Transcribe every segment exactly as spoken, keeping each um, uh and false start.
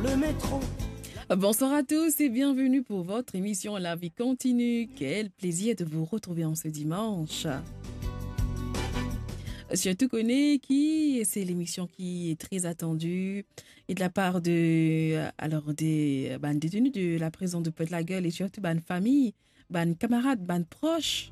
Le métro. Bonsoir à tous et bienvenue pour votre émission La vie continue. Quel plaisir de vous retrouver en ce dimanche. Surtout qu'on est qui, c'est l'émission qui est très attendue et de la part de, euh, alors des, euh, bann deteni de la prison de Pointe-la-Gueule et surtout bann fami, bann kamarad, bann pros.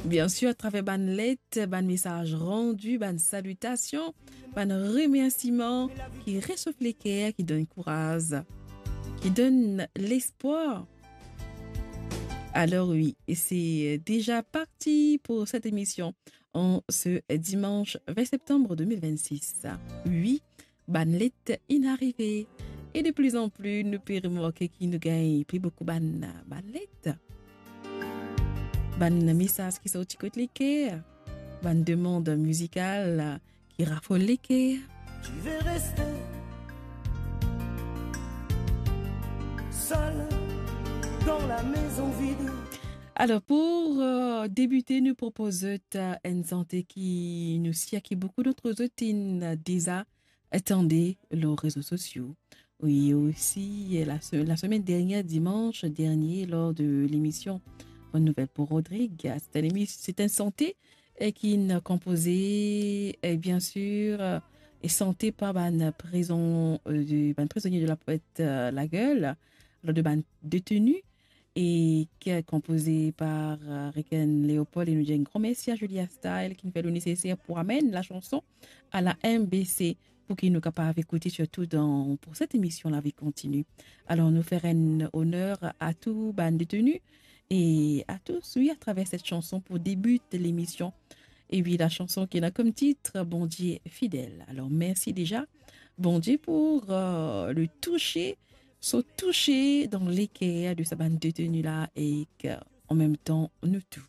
Bien sûr, à travers bann let, bann mesaz randi, bann salitasion, bann remersiman ki resof leker, ki donn kouraz, ki donn lespwar. Alors oui, et c'est déjà parti pour cette émission en ce dimanche vingt septembre deux mille vingt-six. Oui, bann let inn arive. E de plus en plus, nou pe remarke ki nou gagn pli boukou bann, bann let. Bann mesaz ki sorti kot leker. Bann demann mizikal ki rafol leker. Tu veux rester seul dans la maison vide. Alors, pour, euh, débuter, nou propoz zot, euh, enn sante ki nou sir ki boukou d'antre zot inn deza tande lor rezo sosio. Oui, osi, la se-, la semaine dernière, dimanche dernier, lors de l'émission Bonne Nouvelle pour Rodrigue, c'est un émi-, c'est un sante, euh, ki inn konpoze, euh, bien sûr, euh, e sante par bann prizon, euh, de, bann prizonie de la Pointe, euh, la Gueule, alors de bann deteni, e ki konpoze par, euh, Ricken Léopold. E nou dir enn gran mersi a Julia Style ki fer le neseser pou amenn la chanson à la M B C, pou ki nou kapav ekoute sirtou dan, pour cette émission La vie continue. Alors, nou fer enn oner a tou bann deteni e a tous, oui, à travers cette chanson pour débuter l'émission. E oui, la chanson ki ena kom tit Bondie fidel. Alors, mersi deza, Bondie, pour, euh, le touse, so touse dan leker de sa bann deteni la e ki, an mem tan, nou tou.